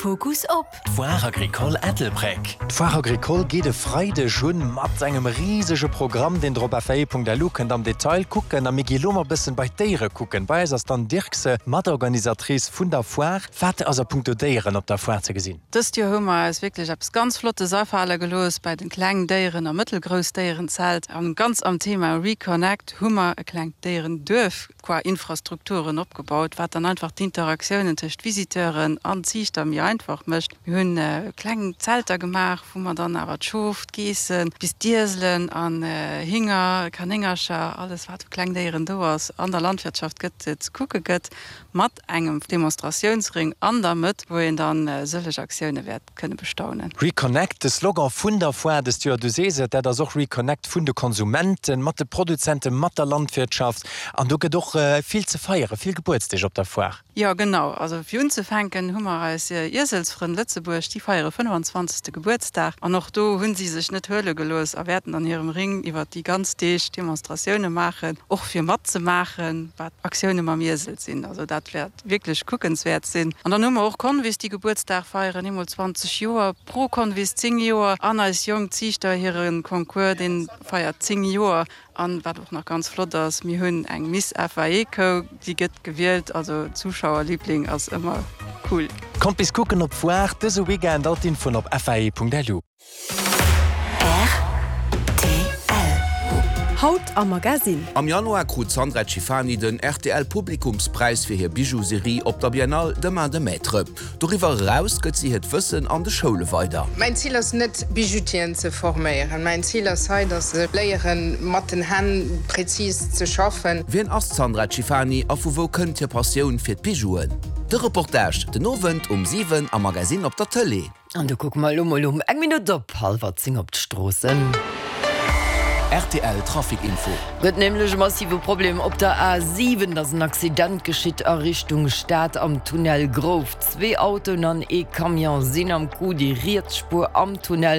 Fokus op. D'Foire Agricole Ettelbréck. D'Foire Agricole geet e Freideg un mat engem risege Programm, deen der op fae.lu kënnt am Detail kucken. A mir gi lo mol bëssen bei d'Déiere kucken. Bei eis ass d'Anne Dirkse, Matorganisatrice vun der Foire. Wat ass a punkto Déieren op der Foire ze gesinn? Dëst Joer hu mer eis wierklech eppes ganz Flottes afale gelooss bei den Kleng Déieren a Mëttelgrouss Déierenzelt. An ganz am Thema Reconnect hu mer e klengt Déierenduerf qua Infrastrukturen opgebaut, wat dann einfach d'Interaktiounen tëscht Visiteuren an Ziichter méi einfach mécht. Mir hunn kleng Zelter gemaach, wou mer dann awer d'Schof, d'Geessen, bis d'Ieselen an Hinger, Kanéngercher, alles wat u Klengdéieren do ass an der Landwirtschaft gëtt, ze kucke gëtt, mat engem Demonstratiounsring an der Mëtt, wou een dann sëlleg Aktioune wäert kënne bestaunen. Reconnect, de Slogan vun der Foire dëst Joer, du sees et, dat ass och Reconnect vun de Konsumenten, mat de Produzenten, mat der Landwirtschaft. An do gëtt och vill ze feieren, vill Gebuertsdeeg op der Foire. Jo, genau. Also fir unzefänken hu mer eis Ieselsfrënn Lëtzebuerg, déi feiere 25. Gebuertsdag. An och do hu si sech net huele gelooss a wäerten an hirem Ring iwwer déi ganz Deeg Demonstratioune maachen, och fir matzemaachen, wat Aktioune mam Iesel sinn. Also dat wäert wierklech kuckenswäert sinn. An dann hu mer och Convis, déi Gebuertsdag feieren, eemol 20 Joer, Pro Convis 10 Joer an eis jonk Ziichter hire Concours, dee feiert 10 Joer. An wat och nach ganz flott ass, mir hunn eng Miss FAE Kou, déi gëtt gewielt, also Zuschauerliebling ass ëmmer cool. Kommt bis kucken op d'Foire dëse Weekend, all d'Infoen op fae.lu. Rtl. Haut am Magasinn. Am Januar krut d'Sandra Cifani den rtl Publikumspräis fir hir Bijou-Serie op der Biennale de Main de Maître. Doriwwer eraus gëtt si hiert Wëssen an de Schoule weider. Mäin Zil ass net Bijoutieren ze forméieren. Mäin Zil ass hei, dass se léieren mat den Hänn präzis ze schaffen. Wien ass d'Sandra Cifani a vu wou kënnt hir Passioun fir d'Bijouen? De Reportage den Owend um 7 am Magasinn op der Tëlee. An do kucke mer elo mol um eng Minutt op hallwer 10 op d'Stroossen. Rtl Trafic Info. Gëtt nämlech e massive Problem op der A7. Et ass en Accident geschitt a Richtung Stad am Tunnel Grouft. Zwee Autoen an ee Camion sinn am Coup. Déi riets Spuer am Tunnel.